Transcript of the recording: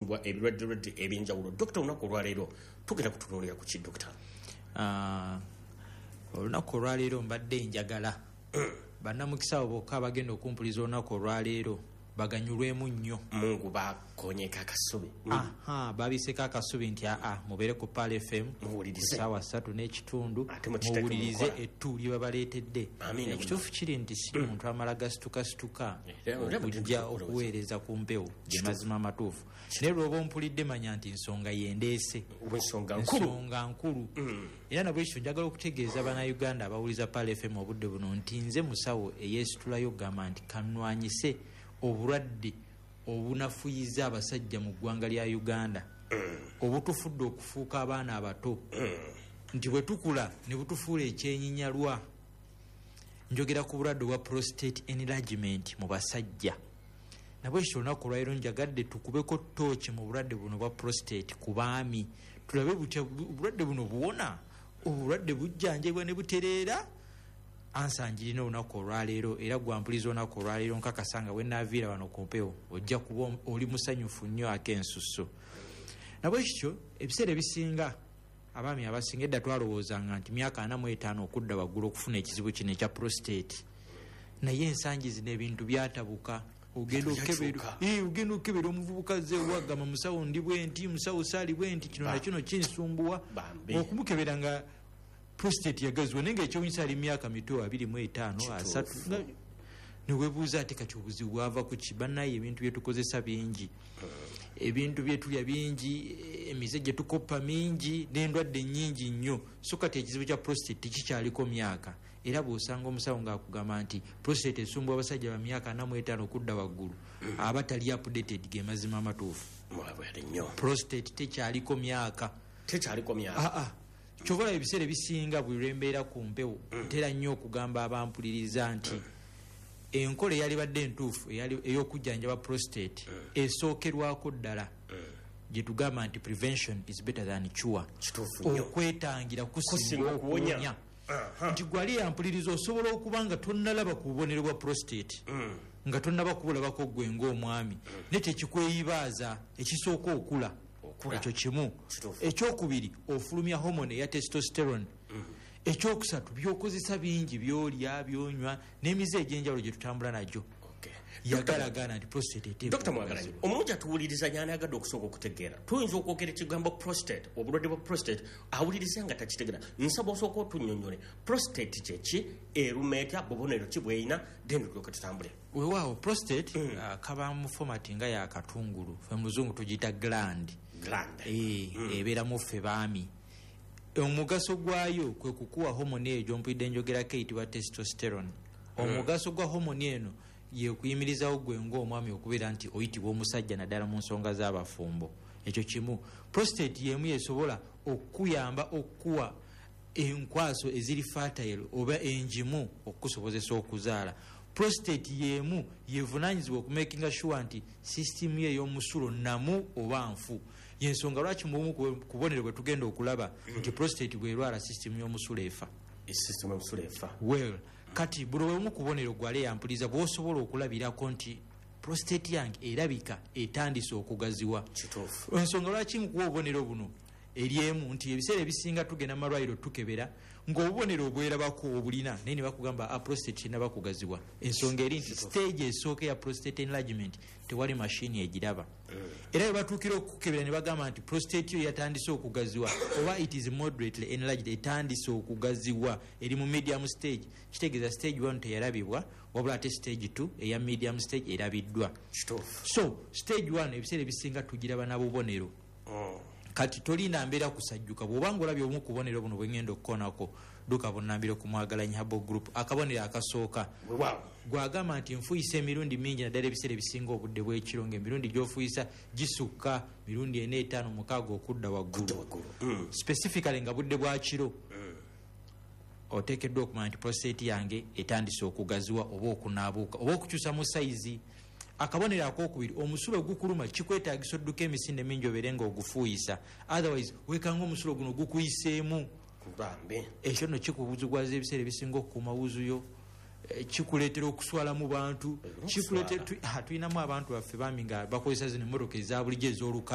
Ebirwadde ebyenjawulo. Dokita, olunaku olwaleero tugenda kutunuulira ku ki, dokita? Olunaku olwaleero mbadde njagala bannamukisa abo bokka abagenda okumpuliza olunaku olwaleero baganyulwemu nnyo. Mungu bakonyeko akasubi. Aha, babiseko akasubi nti aa, mubeere ku Pearl FM Muwulirize. Saawa 3:30. Ate mukiteeke mu Muwulirize nkola. ettu lye babaleetedde. Amiina. Ekituufu kiri nti si muntu amala gasitukasituka Era okujja bwe okuweereza ku mpewo, ge mazima amatuufu. Naye lwoba ompulidde, manya nti nsonga yendeese. Ensonga nkulu. Ensonga nkulu. Era nabwekityo njagala okutegeeza Bannayuganda abawuliza Pearl FM obudde buno nti nze musawo eyeesitulayo okugamba nti kanwanyise obulwadde obunafuyiza abasajja mu ggwanga lya Uganda, obutufudde okufuuka abaana abato, nti bwe tukula ne butufuula ekyenyinyalwa. Njogera ku bulwadde obwa prostate enlargement mu basajja. Nabwekityo olunaku olwaliro njagadde tukubeko tooki mu bulwadde buno bwa prostate ku baami, tulabe butya obulwadde buno buwona, obulwadde bujjanjabwa ne butereera. Answer njirina olunaku olwaleero. Era gwampuliza olunaku olwaleero, nkakasa nga bwenaaviira wano ku mpewo ojja kuba oli musanyufu nnyo ak'ensusso. Nabwekityo ebiseera ebisinga abaami abasinga edda twalowoozanga nti myaka 45 okudda waggulu okufuna ekizibu kino ekya prostate, naye ensangi zino ebintu byatabuka. Ogenda okukebera, Byakyuka. ogenda okukebera omuvubuka ze wagamba, "Musawo, ndi bwe nti, musawo, saali bwe nti, kino nakino kinsumbuwa." Bambi. Okumukebera nga prostate yagaziwa, naye nga ekyewunyisa ali myaka mito, 25, 30. Newebuuza ate kati obuzibu bwava ku ki? Bannaye, ebintu byetukozesa bingi, ebintu byetulya bingi, emize gye tukoppa mingi, n'endwadde nyingi nnyo. So kati ekizibu kya prostate tekikyaliko myaka. Era bw'osanga omusawo ng'akugamba nti prostate esumbuwa abasajja ba myaka 45 okudda waggulu, aba tali updated, ge mazima amatuufu. Mwabwere nnyo. Prostate tekyaliko myaka. Tekyaliko myaka. Aa, kyova olaba ebiseera ebisinga buli lwembeera ku mpewo ntera nnyo okugamba abampuliriza nti enkola eyalibadde entuufu ey'okujjanjaba prostate esookerwako ddala gye tugamba nti prevention is better than cure. Kituufu nnyo. Okwetangira kusinga kusinga okuwonya. okuwonya. Nti gwali yampuliriza, osobola okuba nga tonnalaba ku bubonero bwa prostate, nga tonnaba kubulabako gwe ng'omwami, naye tekikweyibaaza. Ekisooka okula. Okula. Ekyo kimu. Ekyokubiri, ofulumya hormone eya testosterone. Ekyokusatu, byokozesa bingi, byolya, byonywa n'emize egy'enjawulo gye tutambula nagyo. Yagalagana nti prostate eteekwa Dr Mwagalanyi, okugazibwa. Omulungi atuwuliriza nyanaagadde okusooka okutegeera, tuyinza okwogera ekigambo prostate, obulwadde bwa prostate, awuliriza nga takitegeera. Nsaba osooka otunnyonnyole prostate kyeki, eruma etya, bubonero ki bweyina, then tulyoke tutambule. Weewaawo, prostate kaba mu format nga yakatungulu, fe mu Luzungu tugiyita gland. Gland. Ebeeramu ffe baami. Omugaso gwayo kwe kukuwa homoni eyo gyompulidde njogerako eyitibwa testosterone. Omugaso gwa homoni eno yekuyimirizawo gwe ngaomwami okubeera nti oyitibwa omusajja, naddala mu nsonga z'abafumbo. Ekyo kimu. Prostate yemu yesobola okukuyamba okukuwa enkwaso eziri fertile oba enjimu okukusobozesa okuzaala. Prostate yemu yevunanyizibwa okumakinga sure nti sisitimu ye ey'omusulo namu oba nfu. Yensonga lwaki mubumu ku bubonero bwe tugenda okulaba nti prostate bwerwala, sisitimu y'omusulo efa. Esisitemu y'omusulo efa. Well, kati buli obumu ku bubonero gwale yampuliza bwosobola okulabirako nti prostate yange erabika etandise okugaziwa. Ensonga lwaki nkuwa obubonero buno eri emu nti ebiseera ebisinga tugenda mu malwaliro tukebera ng'obubonero obwerabako obulina, naye ne bakugamba, "Ah, prostate tenaba kugaziwa." Ensonga eri nti stage esooka eya prostate enlargement tewali mashini egiraba. Era bwe batuukira okukebera ne bagamba nti prostate yo yatandise okugaziwa oba it is moderately enlarged, etandise okugaziwa, eri mu medium stage, kitegeeza stage 1 teyalabibwa, wabula ate stage 2 eya medium stage erabiddwa. So stage 1 ebiseera ebisinga tugiraba na bubonero. Kati tolina mbeera kusajjuka. Bw'obanga olabye obumu ku bubonero buno bwengenda okukoonako, dduka bunnambiro ku Mwagalanyi Herbal Group. Akabonero akasooka, gwagamba nti nfuyisa emirundi mingi, naddala ebiseera ebisinga obudde bw'ekiro, ngaemirundi gy'ofuyisa gisukka mirundi 4, 5, 6 okudda waggulu, specifically nga budde bwa kiro, oteekeddwa okumanya nti prostate yange etandise okugaziwa oba okunaabuuka oba okukyusa mu sayizi. Akabonero akokubiri, omusulo gukuluma, kikwetagisa odduka emisinde mingi obeere nga ogufuuyisa, otherwise wekanga omusulo guno gukuyiseemu. Bambi. Ekyo nno kikubuzigwaza ebiseera ebisinga okukuuma wuzuyo. Kikuleetera okuswala mu bantu. Okuswala. Tulinamu abantu baffe bambi nga bakozesa zino emmotoka eza bulijjo ez'olukale.